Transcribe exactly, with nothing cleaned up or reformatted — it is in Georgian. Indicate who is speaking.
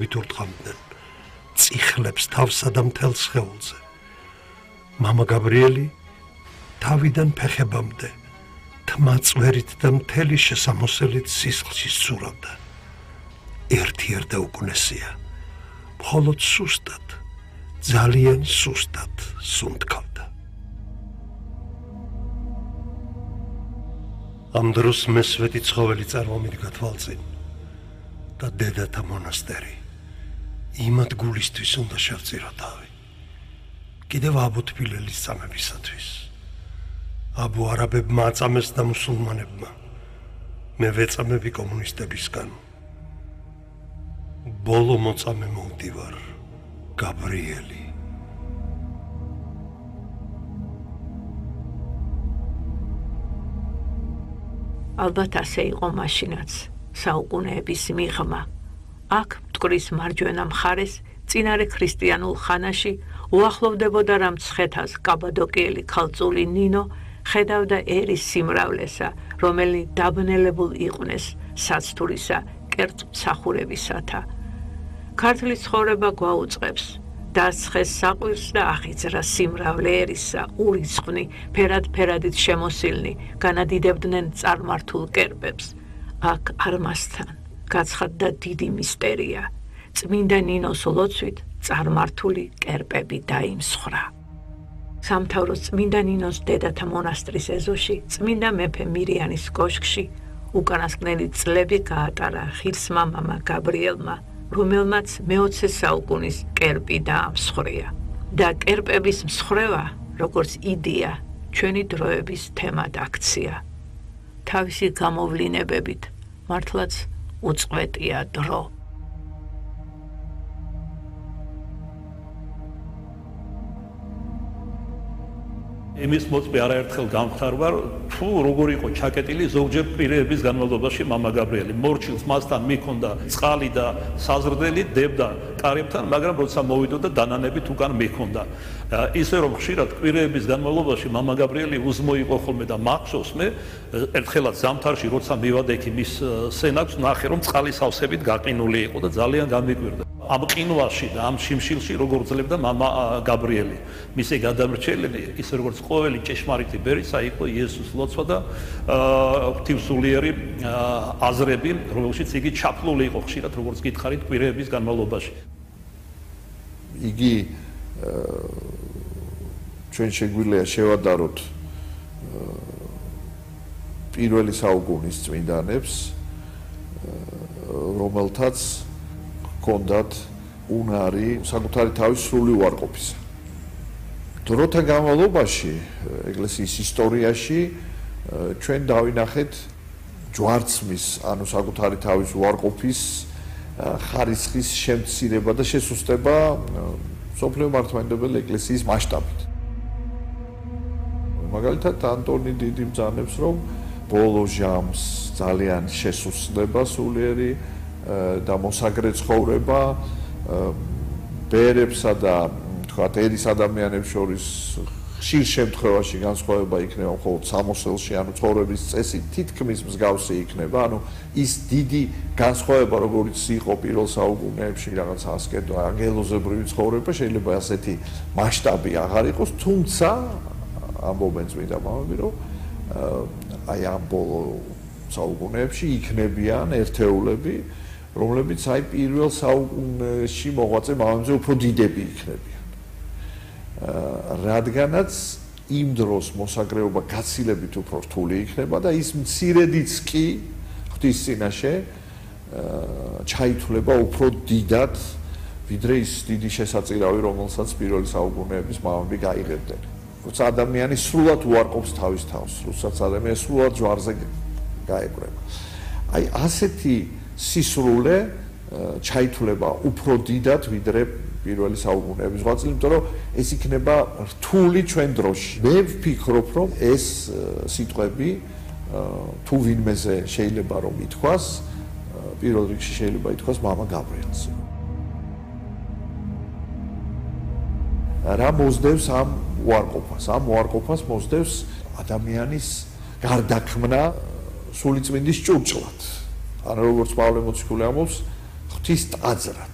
Speaker 1: მადლობით ურტყამდნენ წიხლებს თავსა და მთელ სხეულზე. მამა გაბრიელი თავიდან ფეხებამდე თმა წვერით და მთელი შესამოსელით სისხლში სცურავდა. ერთიერდა უკუნესია, მხოლოდ სუსტად, ძალიან სუსტად სუნთქავდა. ამ დროს მესვეტი ცხოველი წარმომიდგა თვალწინ და დედათა მონასტერი იმად გულისთვის უნდა შევწირო თავი. კიდევ აბუ თბილელის წამებისათვის. აბუ არაბებმა აწამეს და მუსულმანებმა. მე ვეწამები კომუნისტებისგან. ბოლო მოწამე მოვდივარ, გაბრიელი.
Speaker 2: ალბათ ასე იყო მაშინაც, საუკუნეების მიღმა. აქ მტკვრის მარჯვენა მხარეს, წინარე ქრისტიანულ ხანაში, უახლოვდებოდა რა მცხეთას კაბადოკიელი ქალწული ნინო ხედავდა ერის სიმრავლესა, რომელიც დაბნელებულ იყვნენ საცთურისა კერძ მსახურებისათა. ქართლის ცხოვრება გვაუწყებს, დასცხეს საყვირს და აღიძრა სიმრავლე ერისა, ურიცხვნი, ფერად-ფერადით შემოსილნი, განადიდებდნენ წარმართულ კერპებს. აქ არმასთან გაცხადდა დიდი მისტერია. წმინდა ნინოს ლოცვით წარმართული კერპები დაიმსხრა. სამთავროს წმინდა ნინოს დედათა მონასტრის ეზოში, წმინდა მეფე მირიანის კოშკში უკანასკნელი წლები გაატარა ღირსმა მამა გაბრიელმა, რომელმაც მეოცე საუკუნის კერპი დაამსხვრია. და კერპების მსხვრევა, როგორც იდეა, ჩვენი დროების თემად აქცია. თავისი გამოვლინებებით მართლაც უწყვეტია დრო.
Speaker 3: იმის მოწმე არაერთხელ გამხდარვა, თუ როგორ იყო ჩაკეტილი ზოგჯერ პირების განმავლობაში მამა გაბრიელი. მორჩილს მასთან მიქონდა წყალი და საზრდელი, დებდა კარებთან, მაგრამ როცა მოვიდოდა დანანებით უკან მიქონდა. ისე რომ ხშირად კვირეების განმავლობაში მამა გაბრიელი უზმო იყო ხოლმე და მახსოვს მე, ერთხელაც ზამთარში როცა მივადექი მის სენაკს, ნახე რომ წყალი სავსებით გაყინული იყო და ძალიან გამიკვირდა. ამ ყინვაში და ამ შიმშილში როგორ ძლევდა მამა გაბრიელი. მისი გადამრჩენელი, ისე როგორც ყოველი ჭეშმარიტი ბერისა იყო იესოს ლოცვა და ღვთისმსულიერი აზრები, რომელშიც იგი ჩაფლული იყო ხშირად, როგორც გითხარით, კვირეების განმავლობაში.
Speaker 4: იგი ჩვენ შეგვიძლია შევადაროთ პირველი საუკუნის წმინდანებს, რომელთაც ჰქონდათ უნარი საკუთარი თავის სრული უარყოფისა. დროთა განმავლობაში ეკლესიის ისტორიაში ჩვენ დავინახეთ ჯვარცმის, ანუ საკუთარი თავის უარყოფის ხარისხის შემცირება და შესუსტება სოფლიო მართლმადიდებელი ეკლესიის მასშტაბით. მაგალითად, ანტონი დიდი ბრძანებს, რომ ბოლო ჟამს ძალიან შესუსტდება სულიერი და მოსაგრე ცხოვრება ბერებსა და თქვათ ერის ადამიანებს შორის ხშირ შემთხვევაში განსხვავება იქნება მხოლოდ სამოსელში, ანუ ცხოვრების წესი თითქმის მსგავსი იქნება, ანუ ის დიდი განსხვავება, როგორც იყო პირველ საუკუნეებში რაღაც ასკეტო ანგელოზებრივი ცხოვრება, შეიძლება ასეთი მასშტაბი აღარ იყოს, თუმცა ამბობენ წმინდა მამები, რომ აი ამ ბოლო საუკუნეებში იქნებიან ერთეულები, რომლებიც აი პირველ საუკუნეში მოღვაწე მამებზე უფრო დიდები იქნებიან. რადგანაც იმ დროს მოსაგრეობა გაცილებით უფრო რთული იქნება და ის მცირედიც კი ღვთის წინაშე ჩაითვლება უფრო დიდად, ვიდრე ის დიდი შესაწირავი, რომელსაც პირველი საუკუნეების მამები გაიღებდნენ. როცა ადამიანი სრულად უარყოფს თავის თავს, როდესაც ადამიანი სრულად ჯვარზე გაეკვრება. აი ასეთი სისრულე ჩაითვლება უფრო დიდად, ვიდრე პირველი საუკუნეების ღვაწლი, იმიტომ რომ ეს იქნება რთული ჩვენ დროში. მე ვფიქრობ, რომ ეს სიტყვები თუ ვინმეზე შეიძლება რომ ითქვას, პირველ რიგში შეიძლება ითქვას მამა გაბრიელს. რა მოსდევს ამ უარყოფას? ამ უარყოფას მოსდევს ადამიანის გარდაქმნა სულიწმინდის ჭურჭლად. ანუ როგორც პავლე მოციქული ამბობს, ღვთის ტაძრად.